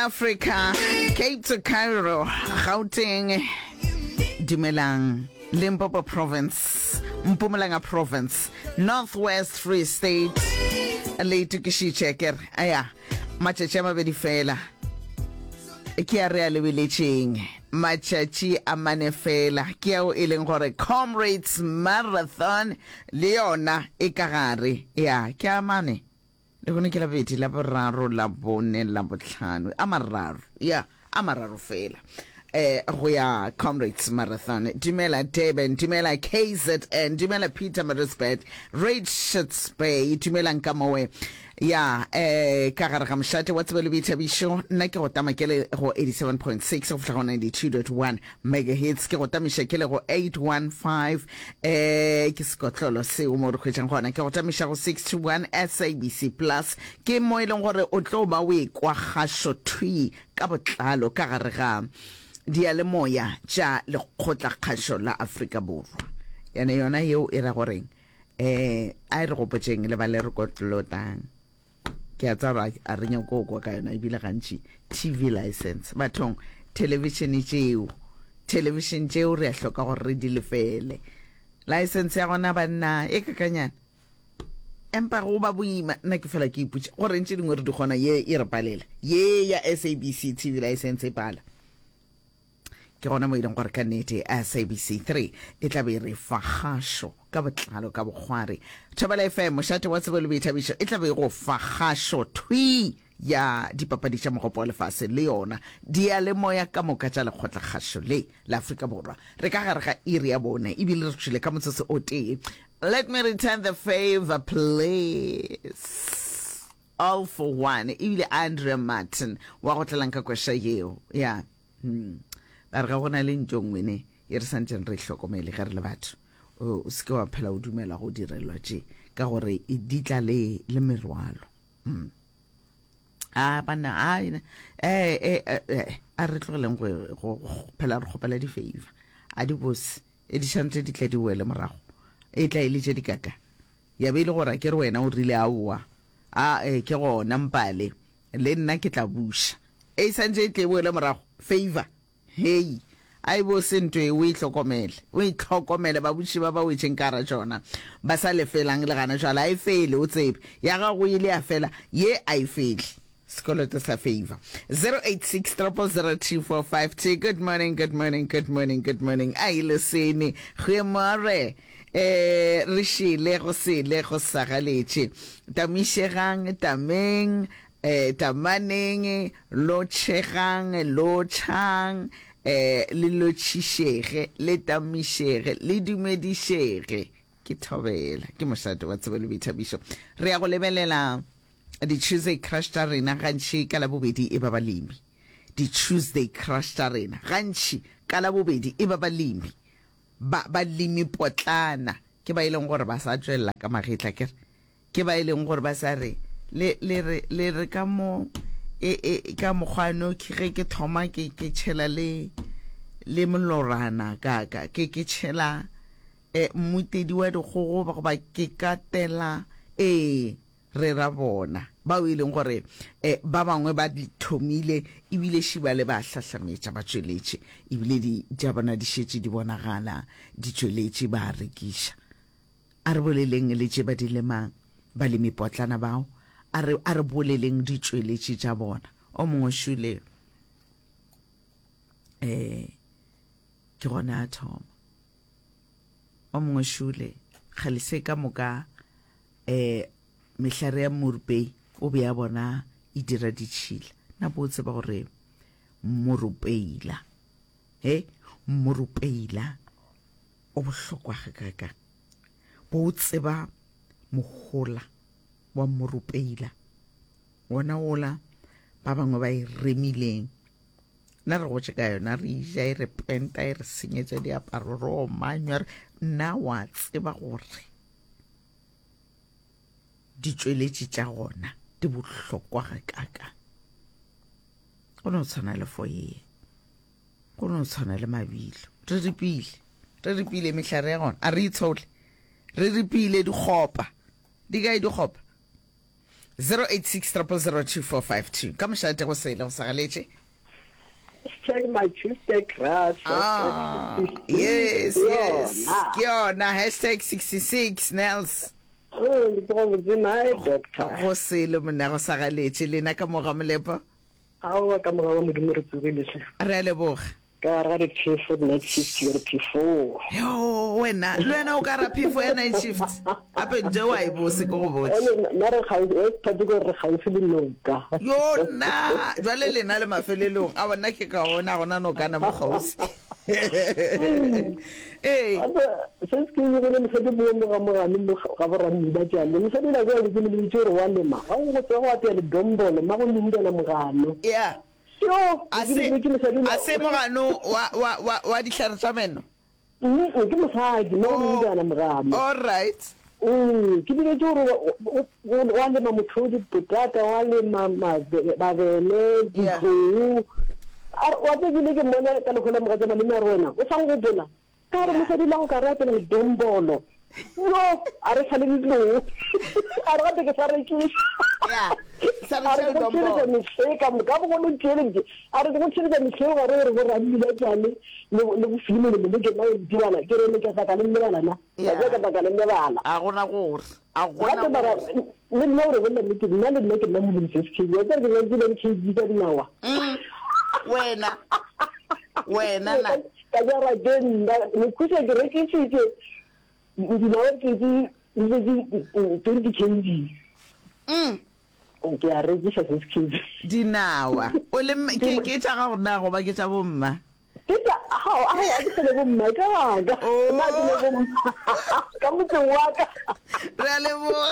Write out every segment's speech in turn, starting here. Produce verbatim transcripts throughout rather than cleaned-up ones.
Africa, Cape to Cairo, Gauteng, Dumelang, Limpopo Province, Mpumalanga Province, Northwest Free State, le itokišitše ke re aya matšatši a mabedi fela ke a re a lebeletšeng matšatši a mane fela ke ao e leng gore Comrades Marathon le yona e ka gare ya ke a mane Lehono ke Labobedi, Laboraro, Labone, Labohlano, a mararo, ya, a mararo fela, eh, go ya Comrades Marathon. Dumela Durban, dumela K Z N, dumela Pietermaritzburg, Richards Bay, dumelang ka mowe. Ya, eh, ka gare ga mošate wa tsebo le boithabišo, nna ke go tama ke le go eighty-seven point six go fihla go ninety-two point one megahertz, ke go tamiša ke le go eight one five, eh, ke sekotlolo seo mo re hwetšang gona, ke go tamiša go six two one S A B C Plus, ke mo e leng gore o tlo ba o ekwa kgašo thwi ka botlalo ka gare ga diyalemoya tša Lekgotlakgašo la Afrika Borwa. Yane yona yeo e ra goreng? Eh, a e re gopotšeng le ba le re kotlotang, ke a tseba a re nyako go kwa ka yona ebile gantši T V license bathong, television tšeo, television tšeo re a hloka gore re di lefele license ya gona banna e kakanyana, empa go ba boima. Nna ke fela ke ipotša gore ntše dingwe re di kgona, ye e re palela, ye ya S A B C T V license e pala. Ke gona mo e leng gore ka nnete S A B C three e tla be e re fa kgašo ka botlalo ka bokgwari. Thobela F M, mošate wa tsebo le boithabišo, e tla be e go fa kgašo thwi ya dipapadi tša Mogopo wa Lefase le yona diyalemoya ka moka tša Lekgotlakgašo le la Afrika Borwa. Re ka gare ga iri ya bone ebile re tšwile ka motsotso o tee. Let me return the favor, please. All for One ebile Andrea Martin wa go tlelang ka kweša yeo ya hmm. Ba re ga go na le ntho nngwe ne e re santseng re hlokomele ge re le batho, o se ke wa phela o dumela go direlwa tše ka gore e di tla le le merwalo hmm. A banna, a eh eh eh a re tlogeleng go go phela re kgopela di-favor, a di bose e di shantse di tla di wele morago, e tla e le tše di kaka ya be e le gore ke re wena o rile aowa, a e ke gona mpale le nna ke tla buša, e santse e tle e boele morago favor. Hei, a e bo se nto e o e hlokomele, o e hlokomele. Babuši ba ba wetšeng ka gara tšona ba sa lefelang le gana jwale, a e fele, o tsebe ya gago ile ya fela, ye a e fele sekoloto sa favor. zero eight six zero zero two four five two. Good morning, good morning, good morning, good morning. A ile sene goemore, eh re šele go sele go sagaletše, tamišegang, tameng, eh tamaneng, lotšhegang, lotšhang, eh le lotšhišege, le tamišege, le dumedišege. Ke thobela, ke mošate wa tsebo le boithabišo. Re ya go lebelela di-Tuesday Crush tša rena gantši ka Labobedi e ba balemi. Di-Tuesday Crush tša rena gantši ka Labobedi e ba balemi, ba balemi potlana ke ba e leng gore ba sa tšwelela ka magetla, kere ke ba e leng gore ba sa re le le re le re ka mo e e ka mokgwano ke ge ke thoma ke ke tšhela le le molorana ka ka ke ke tšhela eh mmutedi wa dikgogo goba ke katela ee re ra bona bao e leng gore eh, ba bangwe ba di thomile ebile šiba le ba hlahlametša, ba tšweletše ebile di tša bona di šetše di bonagala di tšweletše, ba rekiša. A re boleleng le tše ba di lemang balemi potlana bao, a re a re boleleng ditšweletši tša bona. O mongwe šule eh ke gona a thoma, o mongwe šule kgale se ka moka eh mehlare ya morupei o be a bona e dira ditšhila. Na bo tseba gore morupeila, he morupeila o bohlokwa gakaka? Bo tseba mohola wa morupeila wona ola ba bangwe ba e remileng? Nna re gotše ka yona, re ja e re penta, e re senyetša diaparo, re omanywa. Nna wa tseba gore ditšweletši tša gona di bohlokwa gakaka? Go no tshwana le foye, go no tshwana le mabilo. Re ripile, re ripile mehlare ya gona, a re itshole, re ripile dikgopa. Di kae dikgopa? Zero eight six triple zero two four five two. Ka mošate go sele go sa galetše. Hashtag my Tuesday crush. Ah, yes, yes. Ke yona hashtag sixty six Nels. Oh, ke tsoga botse nae doctor. Go sele monna go sa galetše lena ka moga molepo. Aowa ka moga wa Modimo re tsogile hle. Re a leboga. Ka gare ga diphefo night shift ya diphefo. Yo wena le wena o ka ra phefo ya night shift gape nje wa e bose ke go botse. Ene nna re gaufi e thate ke gore re gaufi le noka. Yo nna jwale lena le mafelelong a bona ke kaone a gona nokana mo kgauswi. Ee. Gape se se ke bile mosadi mo mo ga mogane mo ga borammi ba tšale mosadi la kwa ke mo lebitse gore wa lema ga go go tswa go apea ledombolo ma go lindela mogano. Yeah. Yo, A se, a se mogano wa, wa, wa, wa dihlare tša meno? Mm, ke mosadi, mo Oh, go mogano. all right. Mm, ke bile tše gore wa lema motho dipotata, wa lema mabele, Yeah. ditlou. A re, wa tseba ke ile ke mmona ka lehola mogatša malome a re wena, o sa nkgopola? Ka re mosadi la go ka re apela ledombolo. Yo, a re sa le ditlou. A re gape ke sa rekiša. Yeah, sa A re rekiša ke go tšweletša ledombolo. mehleng ka moka, bogolo tšweletše. A re ke go tšweletša mehleng gare gore bo rammi ba tšale le le go filimele le ke nna o ntibala ke re le ka tla ka le lebala na. Yeah. Ka tla ka le lebala. A gona gore, a gona Gape mara gore. le nna o re bolela nnete, nna le nna ke nna molemi se se K G. Wa tseba ke nyakile le K G ka dinawa. Mm. Wena. Wena na. Ka jara ke nna, mekhuša ke rekišitše dinawa ke di twenty K G. Mm. Ke a rekiša six K G. Dinawa. O le ke ke tša gago na goba ke tša bomma? Ke tša ao, ao, a ke sele bomma, ke gaka. Oh. Nna ke le bomma. Ka motseng wa ka. Re a leboga.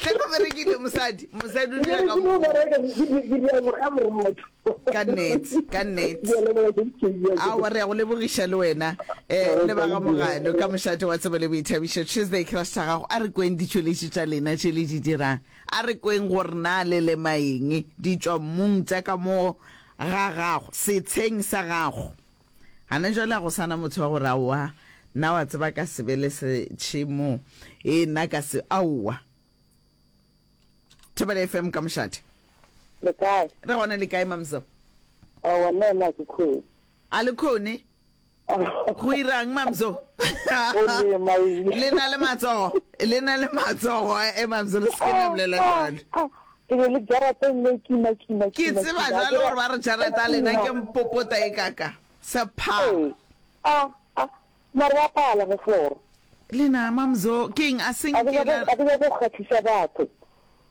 Hle go berekile mosadi. Mosadi o dira ka Ke mokgwa. bereka ke di dira ka borotho. Ka nnete, ka nnete. Ke a leboga, six K G. Aowa re ya go lebogiša le wena eh le ba ga Mogano ka mošate wa tsebo le boithabišo. Tuesday crush tša gago a re kweng ditšweletši tša lena tše le di dirang. A re kweng gore na le lema eng di tšwa mmung tša ka mo ga gago setsheng sa gago. Gana jwale a go sana motho wa gore aowa nna wa tseba ka sebele se tšhemo e nna ka se aowa. Thobela F M ka mošate. Le kae? Re gona le kae mamzo? Aowa nna ena ke khone. A le khone? Go irang mamzo? O lema eng? Le na le matsogo, le na le matsogo e mamzo le se ke la bolela jwalo. Ke be le jarata e nne kima kima Ke kima tseba kima. jwalo gore ba re jarata lena ke mpopota e kaka. Sepha. Ee. Ah, ah. Mare wa pala mo floor. Lena mamzo ke eng a seng A ke ke nyake a ke nyake go kgatlhisa batho.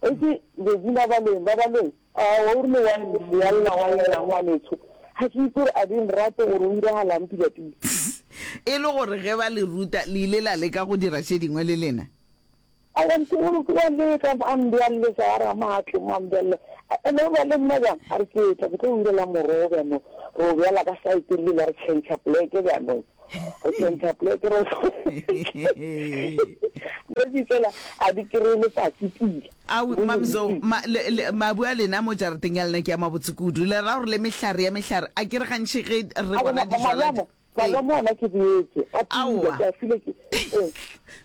E ke Georgina Baleng ba Baleng. Ah, wa o rile wa wa lla wa lla ngwanetsho. Ha ke itse gore a di nrate gore o iragalang pila pila. E le gore ge ba le ruta le ile la leka go dira tše dingwe le lena. A wa ntse o ke wa leka a mbealetsa a re a matle mo a mbealle. Ene o ba le nna jang a re ke tla ke tlo o irela morogo bjanong. Re o bjala ka side le la re change pleke bjanong. Re change pleke re. Re di tsela a di kry letsatsi pila. Ao mamzo ma, le, le, mabu a lena mo jarateng ya lena ke a mabotse kudu. Le ra gore le mehlare ya mehlare a ke re gantši ge re A bona bona dijwala malamo malamo ona ke boetse a pila Aowa. ke a file ke eh.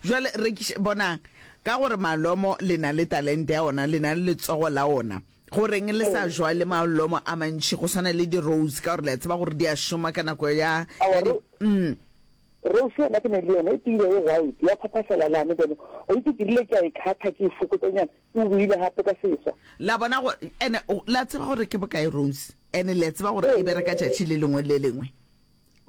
Jwale rekiša bonang ka gore malomo le na le talente ya ona le na le letsogo la ona. Goreng le sa jwale malomo a mantši go swana le di-rose ka gore le a tseba gore di a šoma ka nako ya, Aowa, ya di, ro- mm. Rose yona ke ne le yona e pila e white ya phaphasela lane bone o itse ke rile ke a e kgatha ke e fokotsanyana e boile gape ka seswa. La bona go ene la tseba gore ke bokae rose ene le a tseba gore e bereka tšatši le lengwe le lengwe.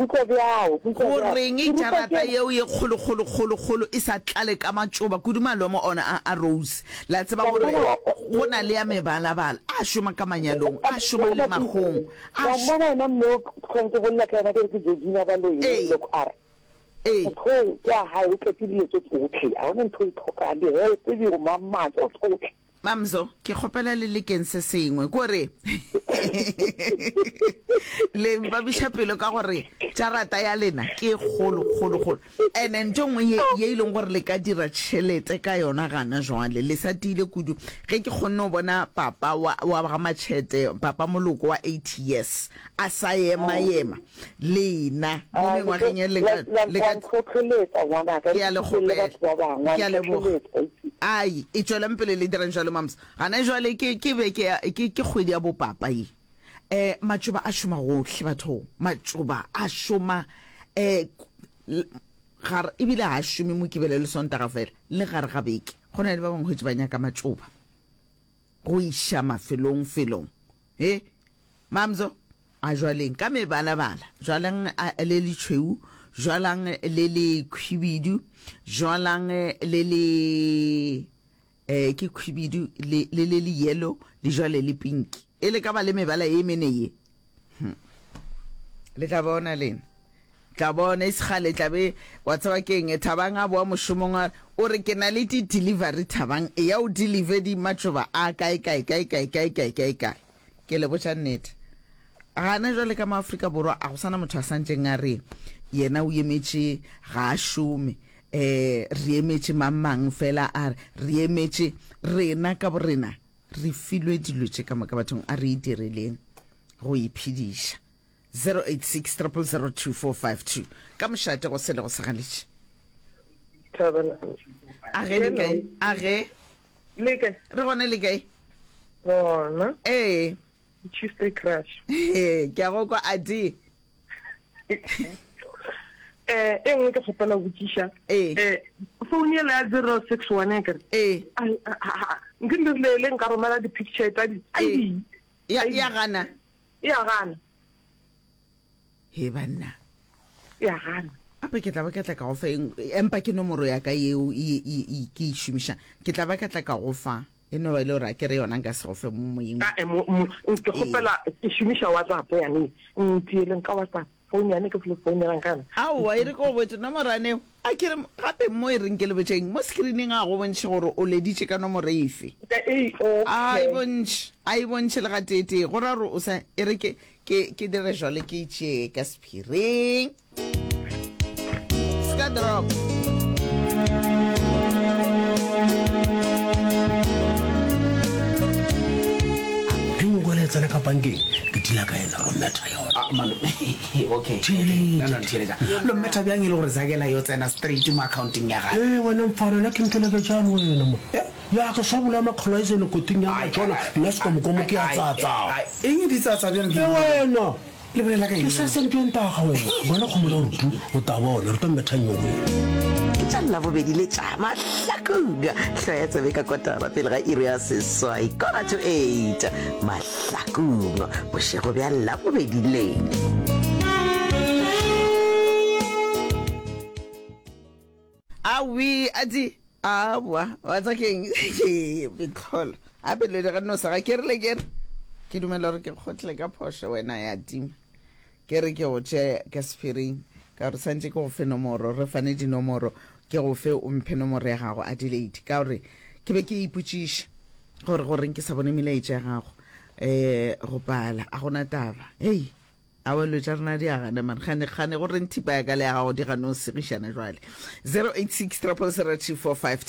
Utlwa bjao, utlwa bjao. Goreng Ke rutwa jarata ke yeo ye kgolo kgolo kgolo kgolo e sa tlale ka matšoba kudu malomo ona a, a rose. La tseba Wa gore mmona go na le ya mebalabala a šoma ka manyalong a šoma le magong a wa š- mmona yena mme o tlhong ke bolela ka yena ke re ke Georgina Baloyi Ee. loko a re Ee. motho o kwa hae o tletse dilo tse tsotlhe a hona ntho e tlhokang di-help di go mamma tso tsotlhe. Mamzo ke kgopela le lekeng se sengwe kore le mpabiša pelo ka gore jarata ya lena ke kgolo kgolo kgolo ene ntho nngwe ye ye e leng gore le ka dira tšhelete ka yona gana jwale le sa tiile kudu ge ke kgonne go bona papa wa wa ga Matšhete papa moloko wa eighty years a sa ema ema lena mo Ah, mengwageng ye le ka la le ka ntlhotlheletsa ngwanaka Ke a le le batho ba bangwe kgopela ke a leboga ntlhotlheletsa. Ai, e tšwelang pele le dirang jwalo mams. Gana jwale ke ke be ke ke ke kgwedi ya bopapa ye. Eh matšoba a šoma gohle batho. Matšoba a šoma eh gare ebile ga a šome Mokibelo le Sontaga fela, le gare ga beke. Go na le ba bangwe hwetše ba nyaka matšoba go iša mafelong felong. He Mamzo, a jwaleng ka mebalabala, jwalang le le tšhweu, jwalang le le khwibidu, jwalang le le eh ke khwibidu le le le le yellow le jwale le pinki. E le ka ba le mebala ye mene ye. Hm. Le tla bona lena. Tla bona e segale tla be wa tseba keng Thabang a boa mošomong a o re ke na le di delivery Thabang e ya o deliver di matšoba a kae kae kae kae kae kae kae kae. Ke le botša nnete. Gana jwale ka mo Afrika Borwa a go sana motho a santšeng a re yena o emetše ga a šome eh re emetše mang mang fela a re re emetše rena ka borena re filwe dilo tše ka moka bathong a re idireleng go iphediša. Zero eight six triple zero two four five two ka mošate go sele go sa galetše. Thabela. A ge le kae? A ge. Le kae? Re gona le kae? Gona. Ee. Tuesday crush. Ee, ke a go kwa Adi. Eh, e nngwe ke kgopela go botšiša. Ee. Eh, phone yela ya zero six one e kere. Ee. Nke le rile le nka romela di-picture tsa di. Ee. Ya ya gana. Ya gana. He banna. Ya gana. Ape ke tla ba ka tla ka go fa eng, empa ke nomoro ya ka yeo e, e, e, ke e šomiša. Ke tla ba ka tla ka go fa. E no ba e le gore a ke re yona nka se go fe mo moyeng. Ka, mo, mo, ke kgopela, ke šomiša WhatsApp yane. Ntieleng ka WhatsApp. Phone yane ke fle founela ka yona. Aowa, e re ke go botše, nomoro yane eo, a ke re, gape mo e reng ke le botšeng, mo screening a go bontšhe gore o leditše ka nomoro efe. A e bontšhe, a e bontšhe le gateetee, go ra gore o sa, e re ke, Ke, ke dire jwale ke itšee ka sephiring. Ska drop. Ge nkwele e tsena ka bankeng, ke dila ka yena ro metha yona. Ah, malome. Okay. No, no, theeletša. Lo mmetha bjang e le gore Zakela yo tsena straight mo accounting ya gage? Ee, wena mfana, nna ke nteleketšane wena mo. Ya ke sa bolaya makgolo a itsene koting ya matšona, nna sekomokomo ke a tsatsa. Eng di tsatsa bjang ke E wena! Le bolela ka Ke eng? sa sentweng taga wena. Bona kgomo ya rutu, o ta bona, re tlo metha nyoweng. Ke tša Labobedi le tša Mahlakong. Hloya tsebe ka kotara pele ga iri ya seswai, quarter to eight, Mahlakong, bošego bja Labobedi le. Awi, adi, aowa, wa tsa keng? Metlholo. Gape le ge no sa ga ke rile ke re ke dumela gore ke kgotle ka phošo wena ya tima. Ke re ke go tše ka sephiring ka gore santše ke go fe nomoro, re fane dinomoro, ke go fe o mphe nomoro ya gago Adelaide ka gore ke be ke ipotšiša gore goreng ke sa bone melaetša ya gago eh go pala a gona taba. Hei. Aowa dilo tša rena di a gana man gane gane go reng thipa ya ka le ya gago di gano segišana jwale. Zero eight six triple zero two four five two.